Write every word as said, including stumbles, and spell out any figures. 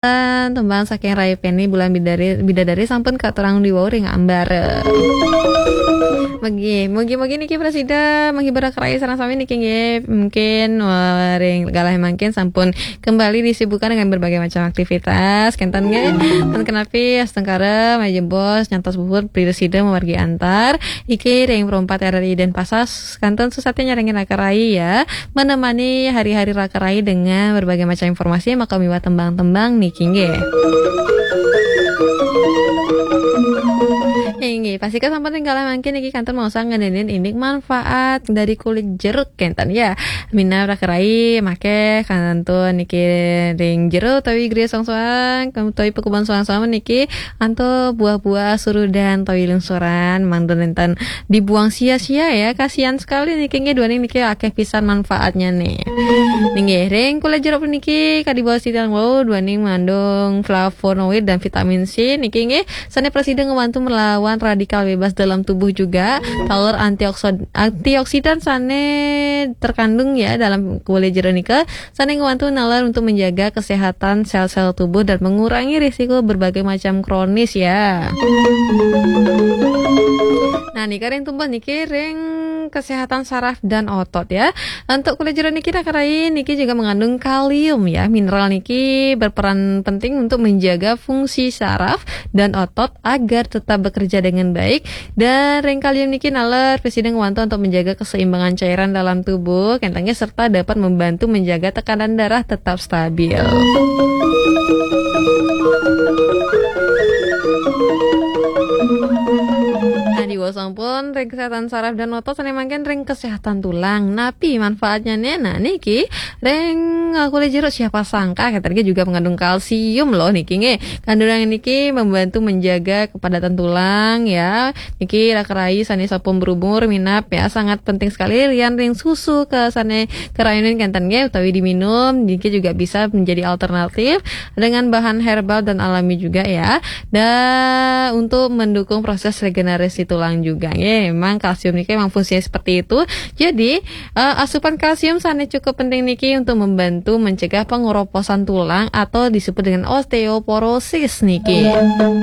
Tembang saking Rai Penny, Bulan Bidari, Bidadari sampun katurang diwau ring ambara. Mugi, mugi-mugi niki prasida menghibur raka rai sareng sami niki nggih. Mungkin, eh, ring galah mangkin sampun kembali disibukkan dengan berbagai macam aktivitas. Kenten nggih. Pun kenapi astungkara, malih jebos, nyantos puhun prasida mamargi antar. Iki ring Pro empat R R I Denpasar, kantun susati nyarengin raka rai ya. Menemani hari-hari raka rai dengan berbagai macam informasi, maka miwah tembang-tembang niki nggih. Inggih, pastika sampun ring galah mangkin niki kantun maosang ngenenin indik manfaat dari kulit jeruk kenten ya. Minab raka rai make kantun niki ring jero utawi griya soang-soang, utawi pakubon soang-soang niki antuk buah-buah surudan utawi lingsuran, mangda nenten dibuang sia-sia ya. Kasihan sekali niki nggih, duaning niki akeh pisan manfaatnya nih. Nggih, ring kulit jeruk puniki kadi baos titiang wau, duaning mengandung flavonoid dan vitamin C niki nggih, sane prasida ngewantu melawan radikal bebas dalam tubuh juga. Taler antioksid-, antioksidan sane terkandung ya dalam kulit jeruk nika, sane ngewantu nalar untuk menjaga kesehatan sel-sel tubuh dan mengurangi risiko berbagai macam kronis ya. Nah, niki ring tumbas niki ring kesehatan saraf dan otot ya. Untuk kulit jeruk niki raka rai niki juga mengandung kalium ya. Mineral niki berperan penting untuk menjaga fungsi saraf dan otot agar tetap bekerja dengan baik. Dan ring kalium niki nalar prasida ngwantu untuk menjaga keseimbangan cairan dalam tubuh, kenten nggih, serta dapat membantu menjaga tekanan darah tetap stabil. Nah, diwaos sampun ring kesehatan saraf dan otot, sane mangkin ring kesehatan tulang. Napi manfaatnya nih? Nah, niki ring, eh, kulit jeruk, siapa sangka kenten nggih juga mengandung kalsium loh niki nggih. Kandungan niki membantu menjaga kepadatan tulang ya. Niki raka rai sane sampun berumur minab ya, sangat penting sekali lian ring susu ke sane karayunin kenten nggih utawi diminum, niki juga bisa menjadi alternatif dengan bahan herbal dan alami juga ya. Dan untuk mendukung proses regenerasi tulang juga nggih. Memang kalsium niki memang fungsinya seperti itu. Jadi, eh, asupan kalsium sane cukup penting niki untuk membantu mencegah pengeroposan tulang atau disebut dengan osteoporosis niki.